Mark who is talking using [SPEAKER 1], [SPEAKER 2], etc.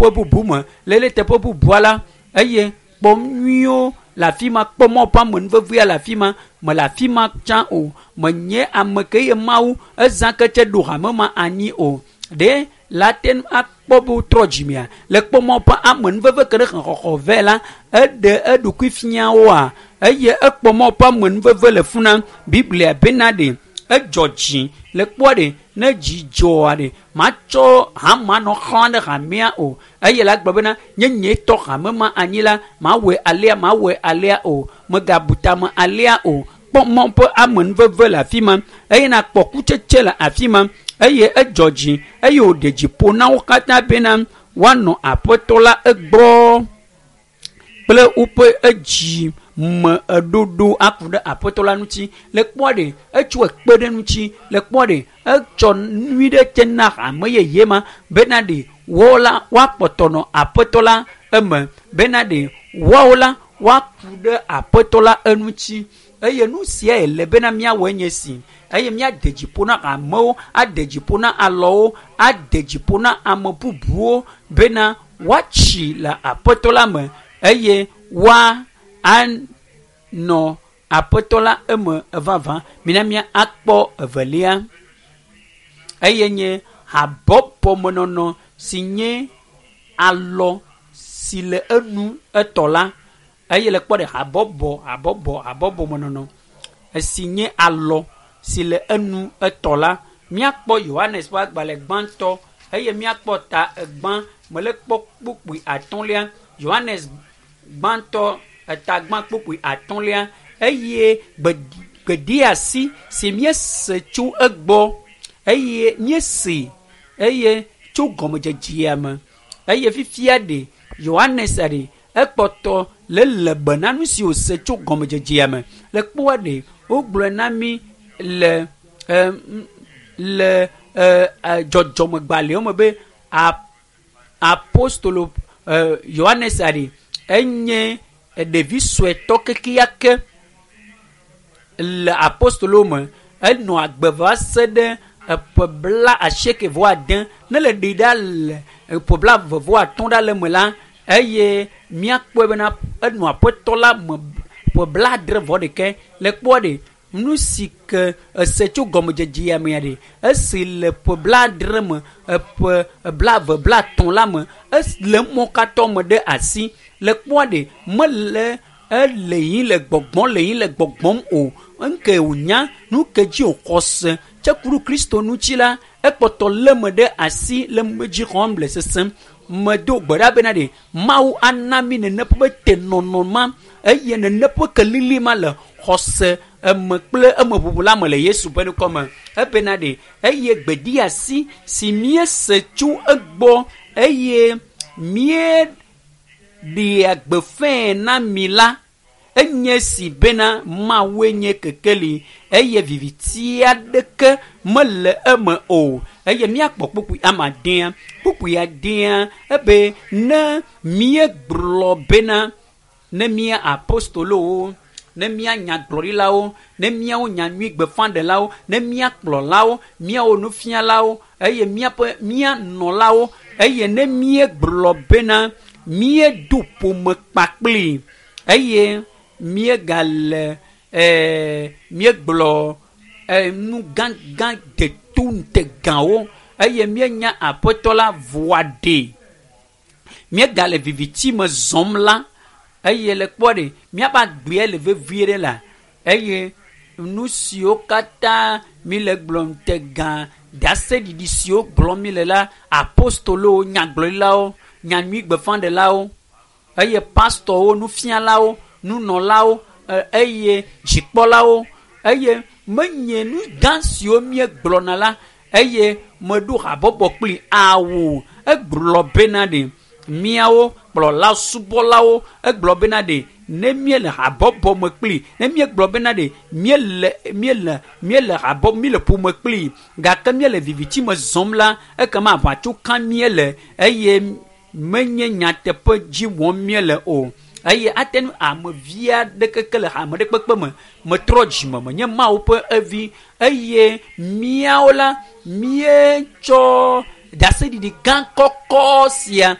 [SPEAKER 1] Teƒe bubu me le le teƒe bubua la eye kpɔ nyuiwo le afi ma kpɔ mɔ ƒe amenuvevea le afi ma mele afi ma tsã o menye ame ke ye mawu ezã ke tse ɖo hame ma anyi o ɖe la te ŋu akpɔ be wotrɔ dzimea le kpɔ mɔ ƒe amenuveve ke ɖe xexɔxɔ vɛ la eɖe eɖokui fia woa eye ekpɔ mɔ ƒe amenuveve le funa biblia bena ɖe edzɔ dzi le kpɔa ɖe ne dzi dzɔa ɖe matsɔ hama nɔ xlã ɖe hamea o eye la gblɔ bena nye nye tɔ hame ma anyi la mawɔe alea mawɔe alea o megabu tame alea o kpɔ mɔ ƒe amenuveve le afi ma eye nakpɔ kutsetse le afi ma eye edzɔ dzi eye wòɖe dzi ƒo na wo katã bena woanɔ aƒetɔ la egbɔ kple woƒe edzi me eɖoɖo aku ɖe aƒetɔ la ŋuti le kpɔa ɖe etsɔ ekpe ɖe ŋuti le kpɔa ɖe etsɔ nyui ɖe tse na hame yeye ma bena ɖe woawo la woakpɔtɔ nɔ aƒetɔ la eme bena ɖe woawo la woaku ɖe aƒetɔ la eŋuti eye nu sia le bena míawɔe nye si eye míade dzi ƒo na amewo ade dzi ƒo na alɔwo ade dzi ƒo na ame bubuwo bena woatsi le aƒetɔ la me eye woa anɔ aƒetɔ la eme vavã mina mía akpɔ evelia eye nye habɔbɔmenɔnɔ si nye alɔ si le enu etɔ la eye le kpɔ ɖe habɔbɔ habɔbɔ habɔbɔmenɔnɔ esi nye alɔ si le enu etɔ la míakpɔ Yohanes ƒe agbalẽ gbãtɔ eye míakpɔ ta egbã mele kpɔ kpukpui atɔ̃lia Yohanes gbãtɔ eta gbã kpukpui atɔ̃lia eye gbedeasi si míese tso egbɔ eye míese eye tso gɔmedzedzea me eye fifia ɖe Yohanes ɖe ekpɔtɔ le le be na nu si wòse tso gɔmedzedzea me le kpɔa ɖe wogblɔe na mí le le dzɔdzɔmegbalẽwo me be apostolo Yohanes ɖe enye ɖevi suetɔ kekeake le apostolo me enɔ agbe va se ɖe eƒe bla asieke vɔ ade ne le ɖi ɖa le eƒe bla eve vɔ atɔ̃ ɖa le eme la eye míakpɔe bena enɔ aƒetɔ la me ƒe bla adre vɔ ɖeke le kpɔa ɖe nu si ke ese tso gɔmedzedzea mea ɖe esi le ƒe bla adre me eƒe bla eve bla atɔ̃ la me le mɔ katã me ɖe asi le kpɔa ɖe mele ele yi le gbɔgbɔm le yi le gbɔgbɔm o nke wònya nu ke dzi wòxɔ se tse ku ɖe kristo ŋuti la ekpɔtɔ lé me ɖe asi le dzi xɔm le sesem medo gbe ɖa bena ɖe mawu ana mi nene ƒe tenɔnɔ ma eye nene ƒe kelili ma le xɔse eme kple emeʋuʋu la me le yesu ƒe ŋkɔ me ebena ɖe eye gbedeasi si míese tso egbɔ eye míeɖea gbeƒãe na mi la enye si bena mawue nye kekeli eye viviti aɖeke mele eme o eye míakpɔ kpukpui ama adea kpukpui adea ebe ne míegblɔ bena ne mía apostolowo ne mía nyagblɔɖilawo ne míawo nyanyui gbeƒãɖelawo ne mía kplɔlawo míawo nufialawo eye míaƒe mía nɔlawo eye ne míegblɔ bena míedo ƒome kpakpli eye míegale ɛɛ míegblɔ nu gãgã deto ŋutegawo eye míenya aƒetɔ la voa ɖe míegale viviti me zɔm la eye le kpɔ ɖe míaƒe agbea le vevie ɖe la eye nu siwo katã mi le gblɔm ŋutegã ɖaseɖiɖi siwo gblɔm mi le la apostolowo nyagblɔɖilawo nyanyui gbeƒãɖelawo eye pastɔwo nufialawo nunɔlawo eye dzikpɔlawo eye menye nu gã siwo míegblɔna la eye meɖo habɔbɔ kpli awo egblɔ bena ɖe míawo kplɔla subɔlawo egblɔ bena ɖe ne míele habɔbɔ me kpli ne míegblɔ bena ɖe míele míele míele habɔ míele ƒome kpli gake míele viviti me zɔm la ekema aʋatso kam míele eye menye nyateƒe dzi wɔm míele o eye ate ŋu ame vi aɖe keke le hame ɖe kpekpe me metrɔ dzime menye mawu ƒe evi eye míawo la míetsɔ ɖaseɖiɖi gã kɔkɔ sia